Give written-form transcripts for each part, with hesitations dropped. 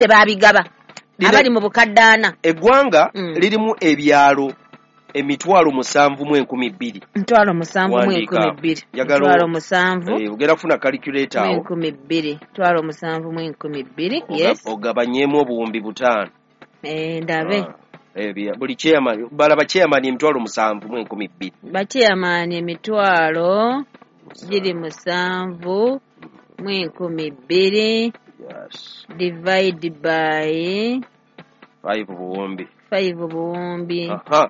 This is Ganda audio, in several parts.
Babigaba abali mu bukadde 40. Eggwanga lirimu ebyalo 7,002. 7,002. 7,000. Ogenda kufuna calculator awo. 2,000. 7,002. Yes. Ogabanyeemu 5,000. Ndabe. Buli chairman balaba chairman 7,002. Ba chairman 7,002. Yes. Divide by 5 buwumbi. 5 buwumbi. Aha.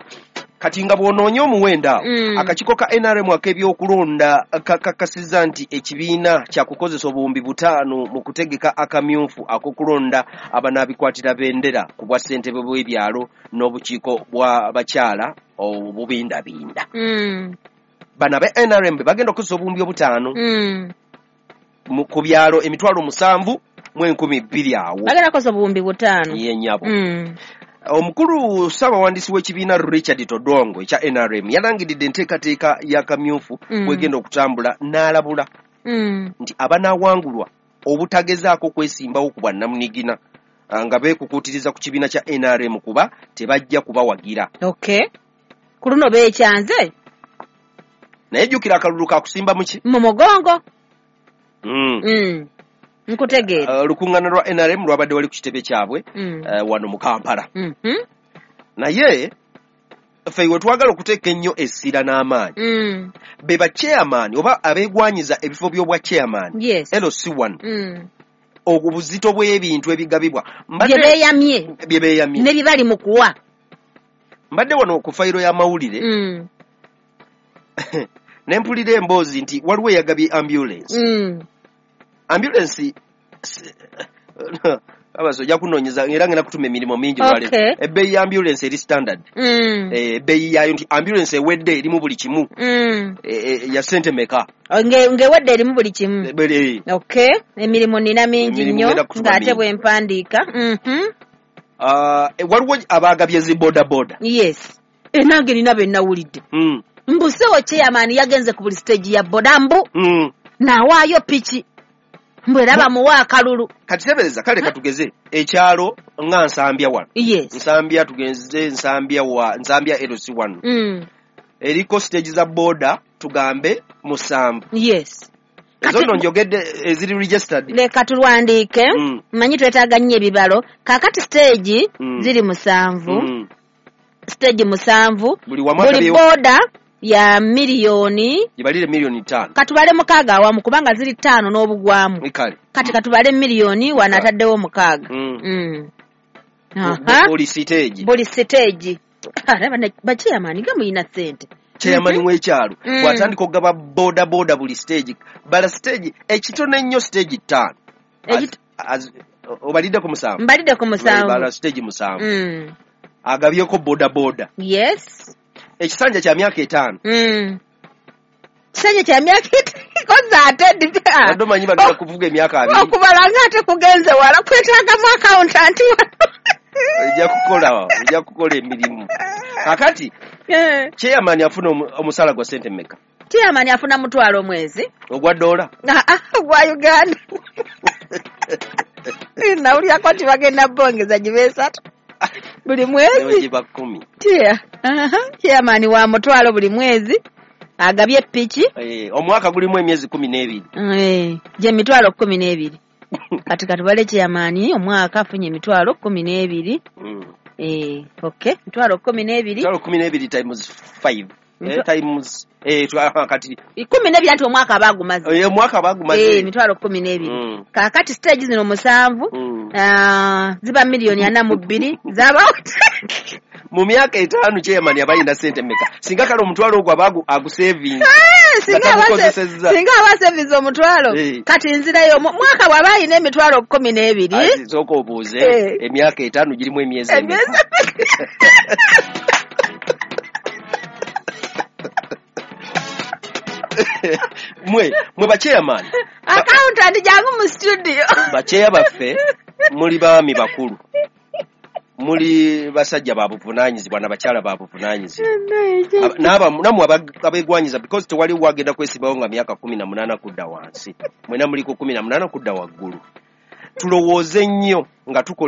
Kati nga bw'onoonya omuwendo awo, akakiiko ka NRM ak'ebyokulonda kakakasizza nti ekibiina kyakukozesa 5,000 mu kutegeka akamyufu ak'okulonda abanaabikwatira bendera ku bwa ssentebe bw'ebyalo n'obukiiko bw'abakyala obubindabinda. Bano aba NRM be bagenda okukozesa 5,000 ku byalo 7,002 awo. Bagenda kukozesa 5,000. Ye nnyabo. Omukulu ssaabawandiisi w'ekibiina Richard Todwongo ekya NRM yalangiridde enteekateeka y'akamyufu bw'egenda okutambula n'alabula nti abanaawangulwa obutagezaako kwesimbawo ku bwannamunigina nga beekukuutiriza ku kibiina kya NRM kuba tebajja kubawagira. Okay. Ku luno beekyanze. Naye jjukira akalulu kakusimba mu ki? Mu mugongo. Nkutegeera. Olukuŋŋaana lwa NRM lwabadde wali ku kitebe kyabwe wano mu Kampala. Naye ffe we twagala okuteeka ennyo essira n'amaanyi be ba chairman oba abeegwanyiza ebifo by'obwa chairman. Yes. LC1. Obuzito bw'ebintu ebigabibwa bye beeyamye ne bye bali mu kuwa. Mbadde wano ku fayiro y'amawulire ne mpulira emboozi nti waliwo eyagabye ambulance. Ambulance abaso ojja kunoonyeza era ngenda kutuma emirimu mingi lwaleero. Ebbeeyi ya ambulance eri standard. Ebbeeyi yaayo nti ambulance ewedde erimu buli kimu. Ya ssente meka? Ng'ewedde erimu buli kimu. Okay. Emirimu nina mingi nnyo ng'ate bwe mpandiika. Waliwo abaagabye zi boda boda. Yes. Nange nina be nawulidde. Mbu ssebo chairman yagenze ku buli stage ya boda mbu n'awaayo piki. Mbu era bamuwa akalulu. Kati tebereza kale katugeze ekyalo nga Nsambya wano. Yes. Nsambya tugenze Nsambya wa Nsambya LC1. Eriko stage za boda tugambe 7. Yes. Ezo njogedde eziri registered. Leka tulwandiike. Mmanyi twetaaga nnyo ebibalo. Kaakati stage ziri 7. Stage 7. Buli boda ya milioni ibalire milioni 5. Katubale 6 awamu kubanga ziri 5 n'obugwamu. Kati katubale milioni wanataddewo 6. Buli stage. Buli stage. Ba chairman nga muyina ssente. Chairman w'ekyalo bw'atandika okugaba boda boda buli stage. Bala stage ekitono ennyo stage 5. Obalidde ku 7. Mbalidde ku 7. Bala stage 7. Agabyeko boda boda. Yes. Ekisanja kya myaka 5. Kisanja kya myaka 5 koza ate ndipya. Wadde omanyi bagenda kuvuga emyaka 2. Okubala ng'ate kugenze wala kwetaagamu accountant wano. Ojja kukola emirimu. Kakati chairman afuna omusala gwa ssente mmeka? Chairman afuna 5,000 omwezi. Ogwa dola? Ogwa Uganda. Nawulirako nti bagenda bongeza gibe 3. Buli mwezi. Giba 10. Tia. Chairman wa 5,000 buli mwezi. Agabye piki. Omwaka gulimu emyezi 12. Gye 12,000. Kati katubale chairman omwaka afunye 12,000. Okay. 12,000. 12,000 times 5. Times kati 12 anti omwaka abagumaze. Omwaka abagumaze. 12,000. Kaakati stage zino 7 ziba milioni 42 zaba mu myaka 5 chairman abayina ssente mmeka? Singa kale omutwalo ogwo abagu agusaving. Singa aba savings omutwalo. Kati nzirayo mwaka bw'aba ayina 12,000. Sooka obuuze emyaka 5 girimu emyezi emeka? Mwe ba chairman. Accountant jangu mu studio. Ba chair baffe muli baami bakulu. Muli basajja babuvunaanyizibwa n'abakyala babuvunaanyizibwa. Nammwe abeegwanyiza because tewali wagenda kwesibawo nga myaka 18 kudda wansi. Mwena muliko 18 kudda waggulu. Tulowooze nnyo nga tukola.